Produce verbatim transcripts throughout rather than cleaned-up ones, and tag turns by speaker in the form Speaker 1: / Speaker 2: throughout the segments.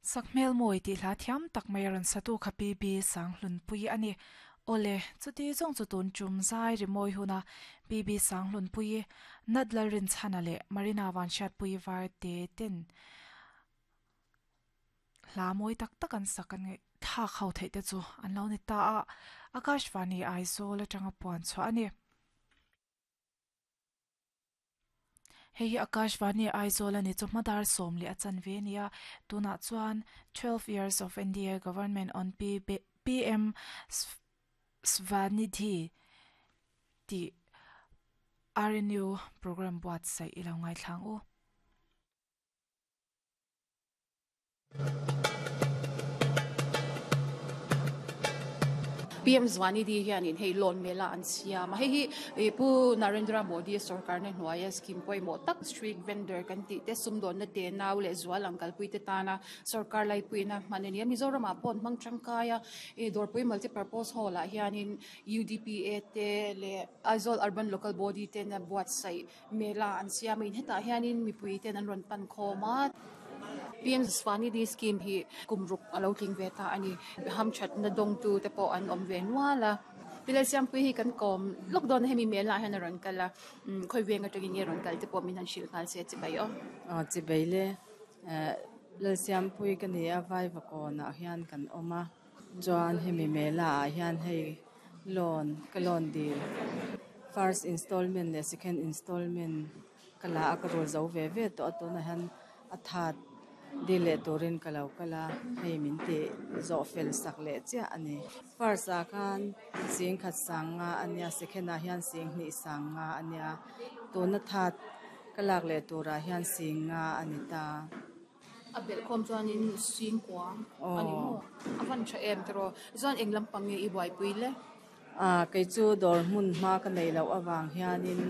Speaker 1: Sakhmel mawi tih hla thiam tak mai a rawn satu kha P B Sanghlunpui a ni. Awle, chuti zawng chu tun tum zai rimawi huna P B Sanghlunpui, Nadla Rinchhana leh Marina Vanhriatpui var te ten hla mawi tak tak an sak an ngaih thlak ho theih te chu an lo ni ta a, Akashvani Aizawl atanga puan chhuah a ni. Hei hi Akashvani Aizawl a ni chu hmadar sawm leh a chan ve a nia. Tunah chuan twelve years of N D A government on P M Svanidhi tih R N U program buatsaih i lo ngaithlang u.
Speaker 2: P M Svanidhi hianin hei loan mela an siam a, hei hi Pu Narendra Modi sorkarna hnuaia scheme pawimawh tak street vendor kan tih te sumdawnna te nau leh zual ang kalpui te tana sorkar laipuina hman a ni a. Mizoramah pawh an hmang tangkai a, Dawrpui Multipurpose Hall ah hianin U D P A te leh Aizawl Urban Local Body tena buatsaih mela an siam a, hetah hianin mipui ten an rawn pan khawm a. P M Svanidhi scheme hi kum ruk a lo tling ve ta a ni. Hamthatna dawngtu te pawh an awm ve nual a. Tilai Siampui hi kan kawm lawk dawn a, hemi mela ah hian a rawn kal a, khawi veng atangin nge rawn kal te pawh min han hrilh nghal se chibai aw.
Speaker 3: Aw chibai le, Lal Siampui ka ni a, Vaivakawnah hian kan awm a, chuan hemi mela ah hian hei loan ka loan dil first installment leh second installment ka la a, ka rul zo ve ve tawh a, tunah hian a that dil leh turin ka lo kal a, hei min ti zawh fel sak leh chiah a ni. First ah khan sing khat sang nga a nia, second ah hian sing hnih sang nga a nia, tuna that ka lak leh turah hian sing nga a ni ta.
Speaker 2: A belh khawm chuanin sing kua a ni maw? A van tha em tiraw? Chuan eng lampang nge i buaipui le?
Speaker 3: A kei chu dawr hmun hma ka nei loh avang hianin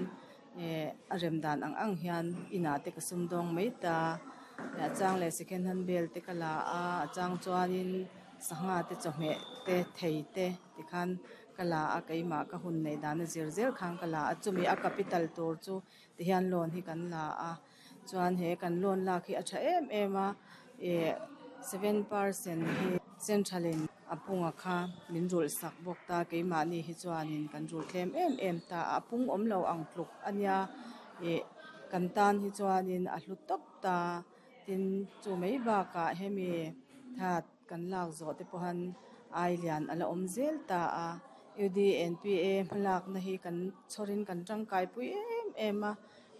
Speaker 3: a rem dan ang ang hian inah te ka sum dawng mai ta. A chang leh second hand bel te ka la a, a chang chuanin sangha te chawhmeh te thei te tikhan ka la a, keimah ka hun neih dan a zir zel khan ka la a, chumi a capital tur chu tihian loan hi kan la a, chuan he kan loan lak hi a tha em em a, eh seven percent hi central in a punga kha min rulh sak bawk ta, keimahni hi chuanin kan rul thlem em em ta a, a pung awm lo ang tluk a nia, eh kan tan hi chuanin a hlu tawp ta, tin chu mai bakah hemi that kan lak zawh te pawh han ai lian a la awm zel ta a, U D N P A hmalakna hi kan chhawrin kan tangkai pui em em a,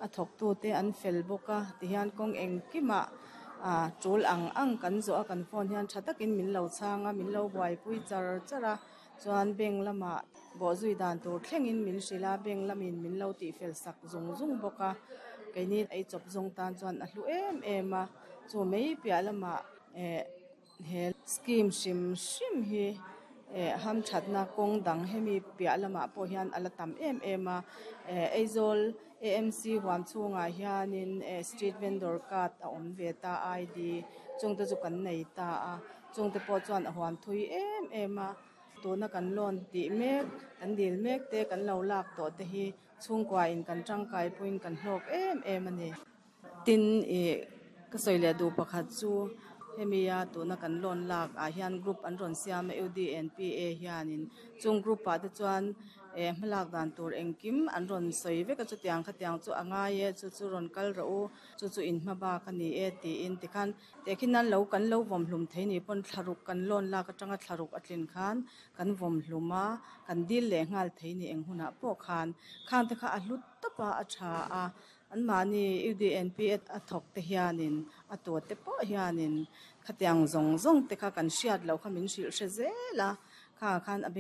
Speaker 3: a thawktu te an fel bawk a, tihian kawng engkimah a tul ang ang kan zawh a, kan phone hian tha takin min lo chhang a, min lo buaipui char char a, chuan bank lamah bawhzui dan tur thlengin min hrilh a, bank lamin min lo tih fel sak zung zung bawk a, keini ei chawp zawng tan chuan a hlu em em a, chu mai piah lamah eh he scheme hrim hrim hi eh hamthatna kawng dang hemi piah lamah pawh hian a la tam em em a, eh Aizawl A M C huam chhungah hianin eh street vendor card a awm ve ta I D chungte chu kan nei ta a, chungte pawh chuan a huam thui em em a, tuna kan loan tih mek kan dil mek te kan lo lak tawh te hi chhungkua in kan tangkai puiin kan hlawk em em a ni. Tin eh ka sawi leh duh pakhat chu hemi a tuna kan loan lak ah hian group an rawn siam a U D N P A hianin chung group ah te chuan eh hmalak dan tur engkim an rawn sawi vek a, chutiang khatiang chu a ngai e, chu chu rawn kal rawh u, chu chu in hma bak a ni e tiin tikhan tehkhin nan lo kan lo vawm hlum thei ni pawn thlaruk kan loan lak atanga thlaruk a tlin khan kan vawm hlum a, kan dil leh nghal thei ni eng hunah pawh khan khang te kha a hlu tawp a, a tha a, an mahni U D N P A a thawk te hianin a tuat te pawh hianin khatiang zawng zawng te kha kan hriat loh kha min hrilh hre zel a, kha khan a